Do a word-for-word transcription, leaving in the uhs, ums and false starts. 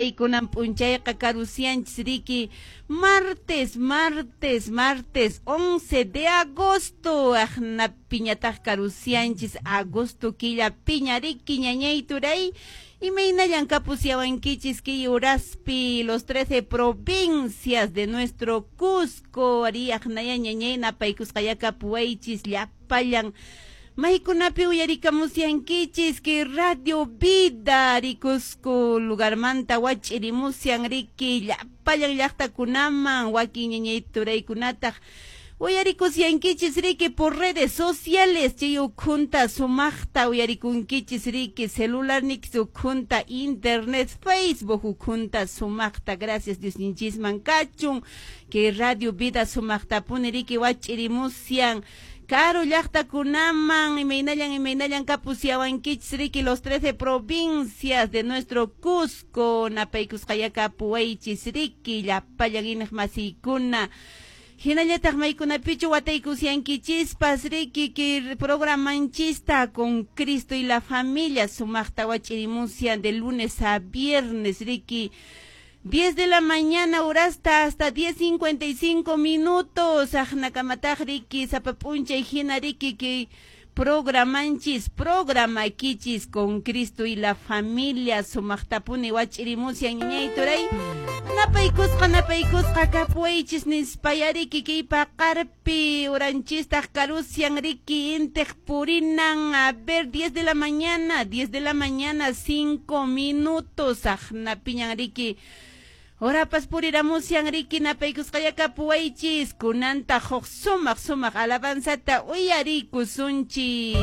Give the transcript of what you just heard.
turay, kunan p'unchayqa karusianchis riki martes, martes, martes once de agosto, aqnapiñataq karusianchis agosto killa piña riki ñañay turay. Imaynallan kapusyawankichis kay uraspi los trece provincias de nuestro Cusco, ari aqnaya ñañay napaykusqaya kapuwaychis llapallan maykunapi uyarikamusyankichis kay Radio Vida ari Cusco lugarmanta wach'irimusyan riki llapallan llaqtakunaman wakin ñañay turaykunataq uyarikusyankichis riki por redes sociales chay ukhunta sumaqta uyarikunkichis riki celular nikis ukhunta internet Facebook ukhunta sumaqta gracias Diosninchisman kachun kay Radio Vida sumaqtapuni riki wach'irimusyan karu llaqtakunaman imaynallan imaynallan kapusyawankichis riki los trece provincias de nuestro Cusco napaykusqaya kapuwaychis riki llapallan iñiq masiykuna hinallataq maykunapichu wataykusyankichispas riki kay programanchista con Cristo y la familia sumaqta wach'irimusyan de lunes a viernes riki diez de la mañana horasta hasta diez cincuenta y cinco minutos aqnakamataq riki sapa p'unchay hina riki kay programanchis programakichis con Cristo y la familia sumaqtapuni wach'irimusyan ñañay turay napaykusqa napaykusqa kapuwaychis nispaya riki kay paqarpi uranchistaq karusian riki intiq purinan a ver diez de la mañana diez de la mañana cinco minutos aqnapiñan riki Horapas puriramusyan riki napaykusqaya kapuwaychis kunanta huk sumaq sumaq alabanzata uyarikusunchis.